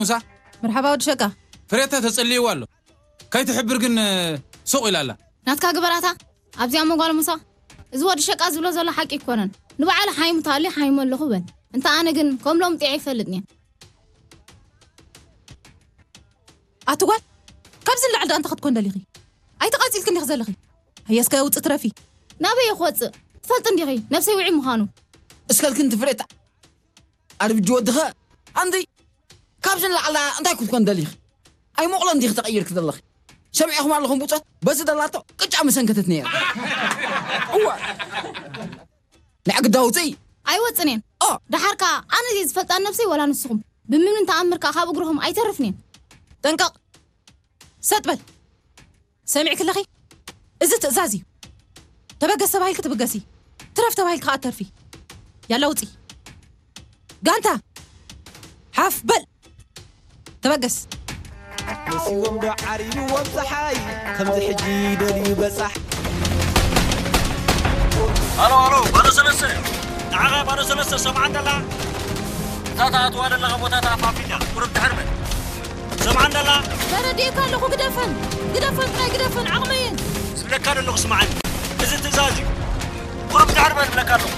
ሙሳ፣ መርሓባ ወዲ ሸቃ። ፍሬተ ተጽልይዋ ኣሎ። ከይትሕብር ግን፣ እ፣ ሱቕ ኢላ ኣላ። ናትካ ግበራታ። ኣብዚኣ መጓል ሙሳ፣ እዚ ወዲ ሸቃ ዝብሎ ዘሎ ሓቂ ኣይኮነን። ንባዕሉ ሓይሙ ተሃልዩ ሓይሙ ኣለኹ በል። እንተ ኣነ ግን ከም ሎምጥዒ ኣይፈልጥን እየ። ኣቲ ጓል፣ ካብዚ ንላዕሊ ደኣ እንታይ ክትኮን ደሊኺ? ኣይተቓጺልክን ዲኺ ዘለኺ? ሃየ እስከ ውጽእ ትረፊ። ናበይ እየ ክወጽእ? ትፈልጢ እንዲኺ ነብሰይ ውዒ ምዃኑ። እስከልክን ትፍሬታ። ኣርብጂ ወድኸ ኣንቲ ካብዚ ንላዕሊ እንታይ ክትኮን ደሊኺ? ኣይሞቕሎን ዲኺ ተቐይርኪ ዘለኺ? ሰሚዕኹም ኣለኹም ብጾት በዚ ደላቶ ቅጫ መሰንከተት ነይራ። እወ። ንዕግዳ ውፅኢ። ኣይወፅን እየን። ኦ። ደሓር ከኣ ኣነ እየ ዝፈልጣ ነብሰይ ወላ ንስኹም? ብምንም ተኣምር ከኣ ካብ እግርኹም ኣይተርፍን እየን። ጠንቀቕ። ሰጥ በል። ሰሚዕኪ ኣለኺ? እዚ ትእዛዝ እዩ። ተበገስ ተባሂልኪ ትብገሲ። ትረፍ ተባሂልኪ ከኣ ትተርፊ። ያላ ውፂ። ጋንታ። ሓፍ በል። ተበገስ። መሲዎም ዶ ዓሪብዎም ፀሓይ ከምዚ ሕጂ ደልዩ በፃሕ ሃሎ ሃሎ፣ ባዶ ሰለስተ። ንዓኻ ባዶ ሰለስተ ሰምዓ እንተላ፣ እታ ትኣትዋ ዘለኻ ቦታ ተኣፋፊላ፣ ቁሩብ ድሕር በል። ሰምዓ እንተላ። ተረዲእካ ኣለኹ፣ ግደፈን፣ ግደፈን፣ ጥራይ ግደፈን፣ ዓቕመይን። ዝብለካ ዘለኹ ስምዓኒ። እዚ ትእዛዝ እዩ። ቁሩብ ድሕር በል እብለካ ኣለኹ።